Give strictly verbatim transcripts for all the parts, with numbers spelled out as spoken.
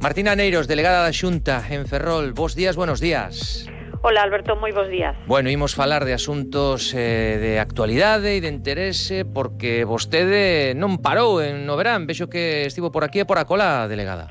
Martina Neiros, delegada da Xunta en Ferrol. Bos días, buenos días. Hola, Alberto, moi bons días. Bueno, imos falar de asuntos eh, de actualidade e de interese porque vostede non parou en no verán. Vexo que estivo por aquí e por acolá, delegada.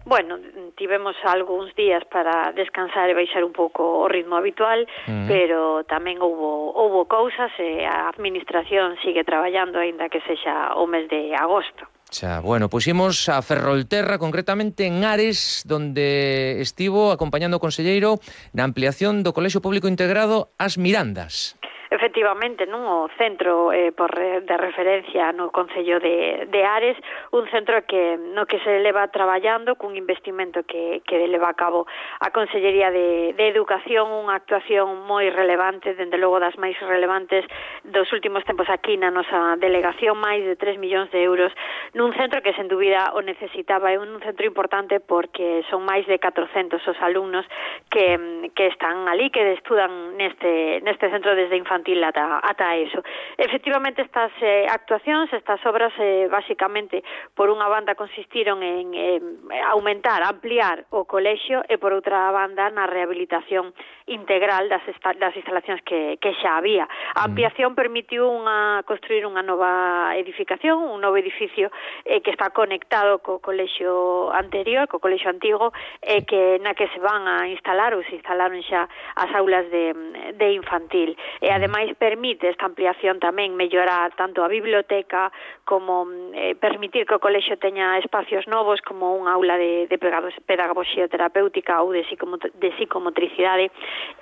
Bueno, tivemos algúns días para descansar e baixar un pouco o ritmo habitual, uh-huh. pero tamén houbo, houbo cousas e a administración sigue traballando aínda que sexa o mes de agosto. Xa, bueno, puximos a Ferrolterra, concretamente en Ares, donde estivo acompañando o conselleiro na ampliación do Colexio Público Integrado As Mirandas. Efectivamente, non o centro eh, por re, de referencia no Concello de, de Ares, un centro que no que se leva traballando cun investimento que, que leva a cabo a Consellería de, de Educación, unha actuación moi relevante, dende logo das máis relevantes dos últimos tempos aquí na nosa delegación, máis de tres millóns de euros nun centro que sen dúbida o necesitaba. É un centro importante porque son máis de catrocentos os alumnos que, que están ali, que estudan neste, neste centro desde infantil ata, ata eso. Efectivamente, estas eh, actuacións, estas obras, eh, basicamente, por unha banda consistiron en eh, aumentar, ampliar o colexio e, por outra banda, na rehabilitación integral das, esta, das instalacións que, que xa había. A ampliación permitiu unha, construir unha nova edificación, un novo edificio eh, que está conectado co colexio anterior, co colexio antigo, eh, que na que se van a instalar ou se instalaron xa as aulas de, de infantil. E, ademais, Ademais, permite esta ampliación tamén mellorar tanto a biblioteca como eh, permitir que o colexio teña espacios novos como unha aula de, de pedagogía terapéutica ou de, psicomot de psicomotricidade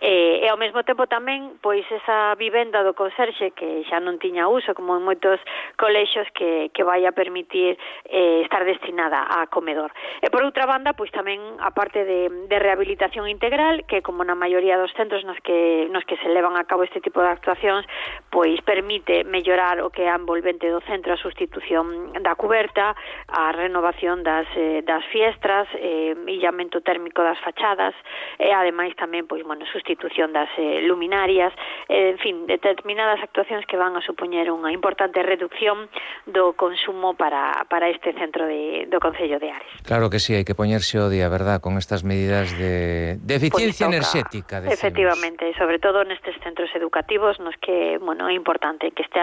eh, e ao mesmo tempo tamén pois esa vivenda do conserxe que xa non tiña uso como en moitos colexios que, que vai a permitir eh, estar destinada a comedor. E por outra banda, pois tamén a parte de, de rehabilitación integral que como na maioría dos centros nos que, nos que se levan a cabo este tipo de actuacións, pois permite mellorar o que é a envolvente do centro, a sustitución da cuberta, a renovación das, eh, das fiestras, eh, illamento térmico das fachadas e ademais tamén, pois, bueno, sustitución das eh, luminarias, eh, en fin, determinadas actuacións que van a supoñer unha importante reducción do consumo para, para este centro de, do Concello de Ares. Claro que sí, hai que poñerse o día, verdad, con estas medidas de, de eficiencia pues enerxética, decimos. Efectivamente, sobre todo nestes centros educativos nos que, bueno, é importante que este